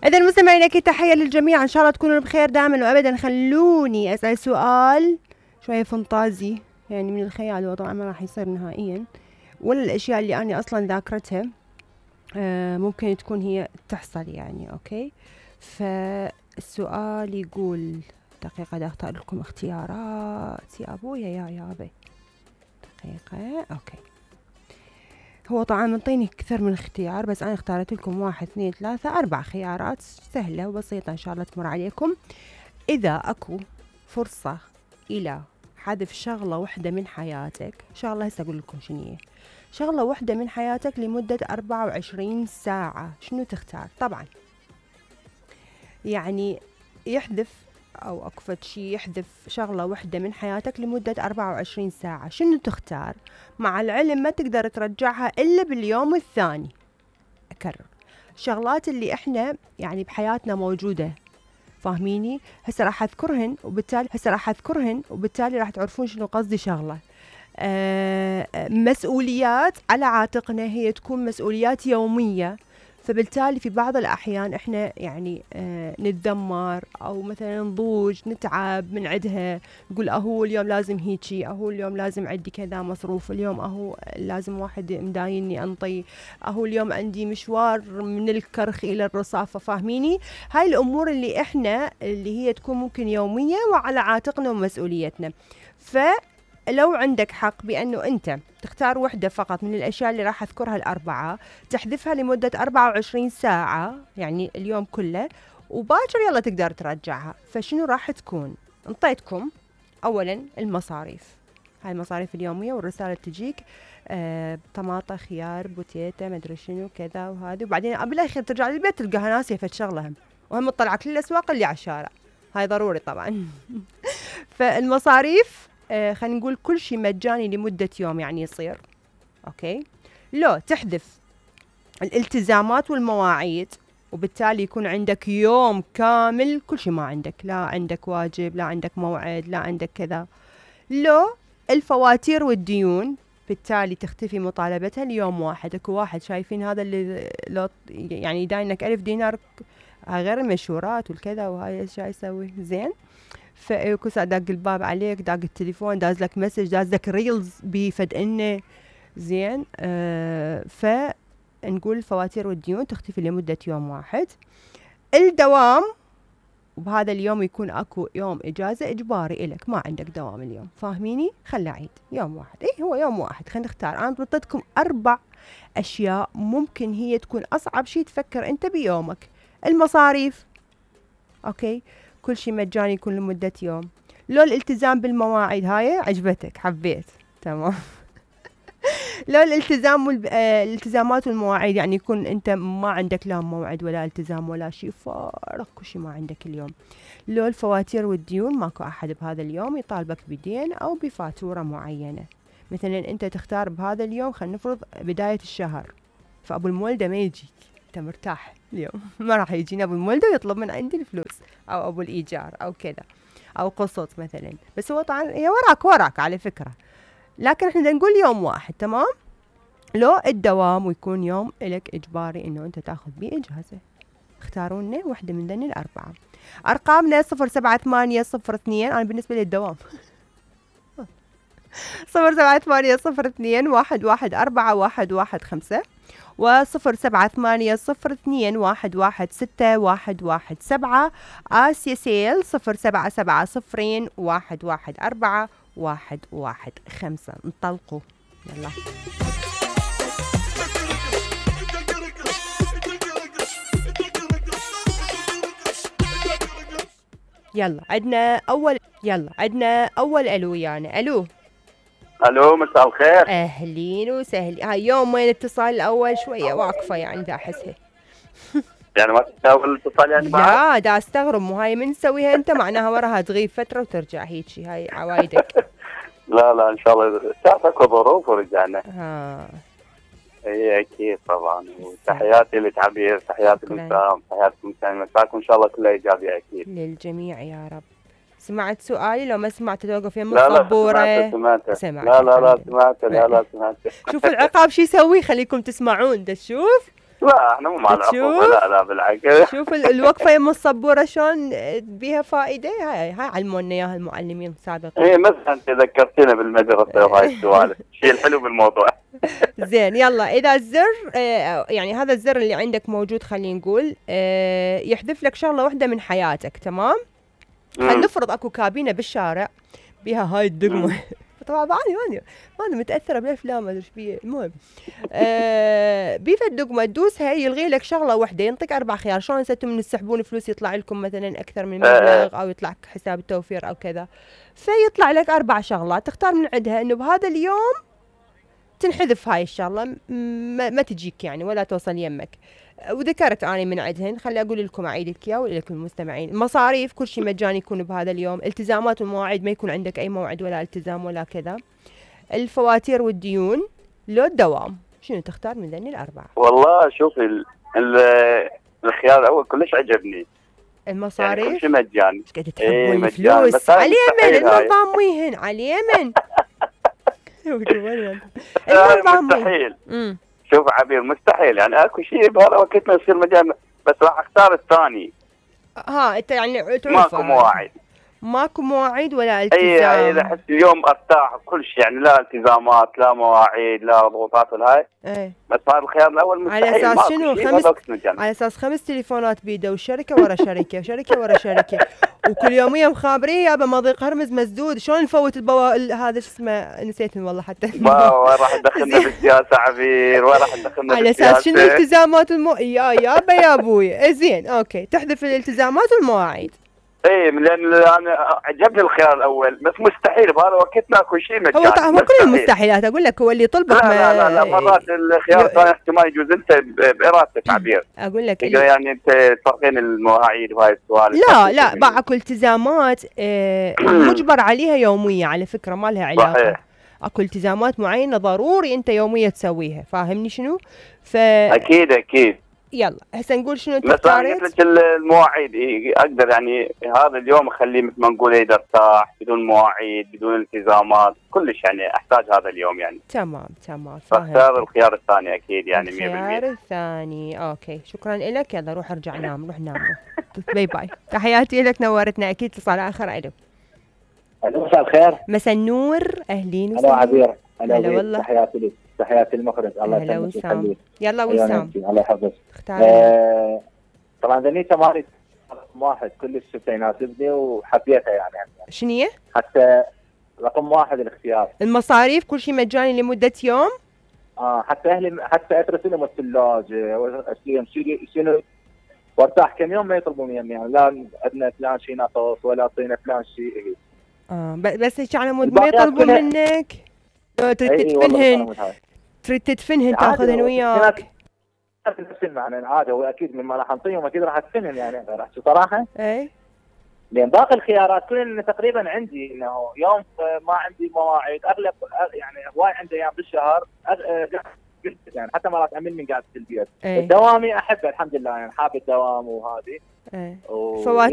إذا مستمعين أكيد تحية للجميع، إن شاء الله تكونوا بخير دائما وأبدا. خلوني أسأل سؤال شوية فانتازي، يعني من الخيال، وطبعا ما راح يصير نهائيا، ولا الأشياء اللي أنا أصلا ذاكرتها ممكن تكون هي تحصل يعني. أوكي، فالسؤال يقول، دقيقة دا أختار لكم اختيارات يا أبويا يا يابي، دقيقة. أوكي، هو طبعا منطيني كثير من اختيار، بس أنا اختارت لكم 1 2 3 4 خيارات سهلة وبسيطة إن شاء الله تمر عليكم. إذا أكو فرصة إلى حذف شغلة واحدة من حياتك، شغلة هسه أقول لكم شنو هي، شغلة واحدة من حياتك لمدة 24 ساعة، شنو تختار؟ طبعا يعني يحذف أو أكفت شي يحذف شغلة واحدة من حياتك لمدة 24 ساعة، شنو تختار؟ مع العلم ما تقدر ترجعها إلا باليوم الثاني. أكرر، الشغلات اللي إحنا يعني بحياتنا موجودة، فاهميني؟ هسه راح أذكرهن وبالتالي راح تعرفون شنو قصدي. شغلة مسؤوليات على عاتقنا، هي تكون مسؤوليات يومية، فبالتالي في بعض الأحيان إحنا يعني نتذمر أو مثلا نضوج نتعب من عدها، نقول أهو اليوم لازم هيجي، أهو اليوم لازم عندي كذا مصروف، اليوم أهو لازم واحد مدايني أنطي، أهو اليوم عندي مشوار من الكرخ إلى الرصافة، فاهميني؟ هاي الأمور اللي إحنا اللي هي تكون ممكن يومية وعلى عاتقنا ومسؤوليتنا. لو عندك حق بأنه أنت تختار وحدة فقط من الأشياء اللي راح أذكرها الأربعة، تحذفها لمدة 24 ساعة يعني اليوم كله، وباكر يلا تقدر ترجعها، فشنو راح تكون؟ انطيتكم أولا المصاريف، هاي المصاريف اليومية والرسالة تجيك طماطة خيار بوتيتا مدري شنو كذا وهذه، وبعدين بالأخير ترجع للبيت تلقاها ناسية فد شغلهم، وهم تطلع كل الأسواق اللي على الشارع، هاي ضروري طبعا. فالمصاريف خلينا نقول كل شيء مجاني لمدة يوم يعني يصير. أوكي، لو تحذف الالتزامات والمواعيد، وبالتالي يكون عندك يوم كامل كل شيء ما عندك، لا عندك واجب، لا عندك موعد، لا عندك كذا. لو الفواتير والديون، بالتالي تختفي مطالبتها ليوم واحد. اكو واحد شايفين هذا اللي لو يعني يداينك 1000 دينار، غير المشورات والكذا وهاي ايش يسوي زين، فكوسا داق الباب عليك، داق التليفون، داز لك مسج، داز لك ريلز بفد انه زين. فنقول الفواتير والديون تختفي لمدة يوم واحد. الدوام، وبهذا اليوم يكون اكو يوم اجازة اجباري الك، ما عندك دوام اليوم، فاهميني؟ خلي عيد يوم واحد، هو يوم واحد. خلينا نختار، انا بطيتكم 4 اشياء ممكن هي تكون اصعب شيء تفكر انت بيومك. المصاريف، اوكي، كل شيء مجاني يكون لمدة يوم. لو الالتزام بالمواعيد، هاي عجبتك حبيت، تمام. لو الالتزامات والمواعيد، يعني يكون انت ما عندك لا موعد ولا التزام ولا شيء، فارق كل شيء ما عندك اليوم. لو الفواتير والديون، ماكو احد بهذا اليوم يطالبك بدين او بفاتورة معينة، مثلا انت تختار بهذا اليوم، خلينا نفرض بداية الشهر، فابو المولدة ما يجيك، انت مرتاح اليوم. ما راح يجينا ابو المولدة ويطلب من عندي الفلوس، او ابو الايجار او كذا، او قسط مثلا، بس هو طبعا هي وراك على فكرة، لكن احنا نقول يوم واحد، تمام. لو الدوام، ويكون يوم لك اجباري انه انت تاخذ بيه اجازة، اختاروا لنا واحدة من ذني الأربعة. ارقامنا 07802، انا بالنسبة لي الدوام 07802114115 و07802116117. آسيا سيل 0770114115. انطلقوا يلا. عندنا أول ألو، يعني ألو مساء الخير. أهلين وسهلين. هاي يوم وين الاتصال الأول شوية واقفة يعني دا أحسها. يعني ما تساوي الاتصال يعني بعد؟ لا دا استغرب، مو هاي من تسويها أنت معناها وراها تغيب فترة وترجع هيجي، هاي عوايدك. لا إن شاء الله تعرفك ظروف ورجعنا. اي اكيد طبعا، وتحياتي لتعبير، تحياتي لسام، تحياتي مساكم ان شاء الله كلها ايجابيه اكيد للجميع يا رب. سمعت سؤالي؟ لو ما سمعت توقف يم الصبورة. لا سمعت. لا سمعت. شوف العقاب شو يسوي، خليكم تسمعون ده. شوف لا احنا مو مع العقوبة، لا بالعكس. شوف الوقفة يم الصبورة شلون بيها فائدة. هاي علمونا اياها المعلمين السابقين. ايه مثلا انت ذكرتينا بالمدرسة وهاي السوالف، الشيء الحلو بالموضوع. زين يلا، اذا الزر يعني هذا الزر اللي عندك موجود، خلينا نقول يحذف لك شغلة واحدة من حياتك، تمام؟ نفرض اكو كابينة بالشارع بيها هاي الدقمة. طبعا ماني متاثره بالافلام، ما ادري ايش بيه. المهم بيفا الدقمه تدوسها يلغي لك شغله واحده، ينطيك 4 خيار. شلون انتم من تسحبون فلوس يطلع لكم مثلا اكثر من مبلغ، او يطلع حساب التوفير او كذا، فيطلع لك 4 شغلات تختار من عندها انه بهذا اليوم تنحذف هاي الشغله، ما تجيك يعني ولا توصل يمك. وذكرت اني من عندهن، خلي اقول لكم اعيد لك اياه ولكم المستمعين. المصاريف كل شيء مجاني يكون بهذا اليوم. التزامات والمواعيد ما يكون عندك اي موعد ولا التزام ولا كذا. الفواتير والديون، لو الدوام، شنو تختار من ذني الاربعه؟ والله شوفي الخيار الاول كلش عجبني. المصاريف يعني كل شيء مجاني. ايش قاعد تحبون الفلوس؟ على اليمن النظام ويهن على اليمن. مستحيل. شوف عبير، مستحيل يعني اكو شيء بهذا الوقت ما يصير مجال، بس راح اختار الثاني. انت يعني ماكو مواعيد ولا التزام. اي اذا احس اليوم ارتاح كل شيء، يعني لا التزامات لا مواعيد لا ضغوطات ولا هاي. بس هذا الخيار الاول مستحيل. على اساس شنو؟ على اساس 5 تليفونات بيده، وشركه ورا شركه وشركه ورا شركه، وكل يوميه مخابرين يابا مضيق هرمز مسدود. شلون نفوت هذا شو اسمه، نسيتهم والله حتى. وين راح تدخلنا بالسياسه عبير؟ وين راح تدخلنا على اساس شنو الالتزامات يابا يا ابوي. زين اوكي، تحذف الالتزامات والمواعيد. ايه لان انا عجبني الخيار الاول، بس مستحيل بهذا وقتنا اكو شيء مجاني. هو مو كل المستحيلات، اقول لك هو اللي يطلبك. لا مرات الخيار الثاني احتمال يجوز انت بارادتك عبير. اقول لك يعني انت تفرقين المواعيد وهاي السوالف. لا اكو التزامات مجبر عليها يوميه، على فكره ما لها علاقه. صحيح. اكو التزامات معينه ضروري انت يوميه تسويها، فاهمني شنو؟ اكيد. يلا هسه نقول شنو انت اختاريت. بس انا قلت لك المواعيد اقدر يعني هذا اليوم اخليه مثل ما نقول اقدر ارتاح بدون مواعيد بدون التزامات كلش، يعني احتاج هذا اليوم يعني. تمام فاختار الخيار الثاني اكيد يعني 100%. الخيار الثاني اوكي، شكرا لك. يلا روح ارجع نام، روح نام. باي باي، تحياتي لك، نورتنا. اكيد اتصال اخر. الو مساء الخير. مساء النور، اهلين وسهلا. عبير. هلا والله. تحياتي لك، تحياتي المخرج. الله يسلمك ويخليك. يلا وسام. الله يحفظك. طبعا ذني تمارين رقم 1 كلش شفتها يناسبني وحبيتها يعني. شنو هي؟ حتى رقم 1 الاختيار. المصاريف كل شيء مجاني لمدة يوم. حتى اهلي حتى اترسل لهم الثلاجة شنو وارتاح كم يوم ما يطلبون مني، يعني لا عندنا فلان شيء ناقص ولا اعطينا فلان شيء. بس هيك على مود ما يطلبون منك. تريد تدفنهن تاخذهن وياك. نفس المعنى عادي، هو اكيد مما راح نعطيهم اكيد راح ادفنهم يعني. راح صراحه لان باقي الخيارات كلها تقريبا عندي انه يوم ما عندي مواعيد، اغلب يعني هواي عندي ايام بالشهر يعني حتى مرات اعمل من قاعد في البيت. الدوامي احبه الحمد لله، يعني حاب الدوام وهذه. فواتير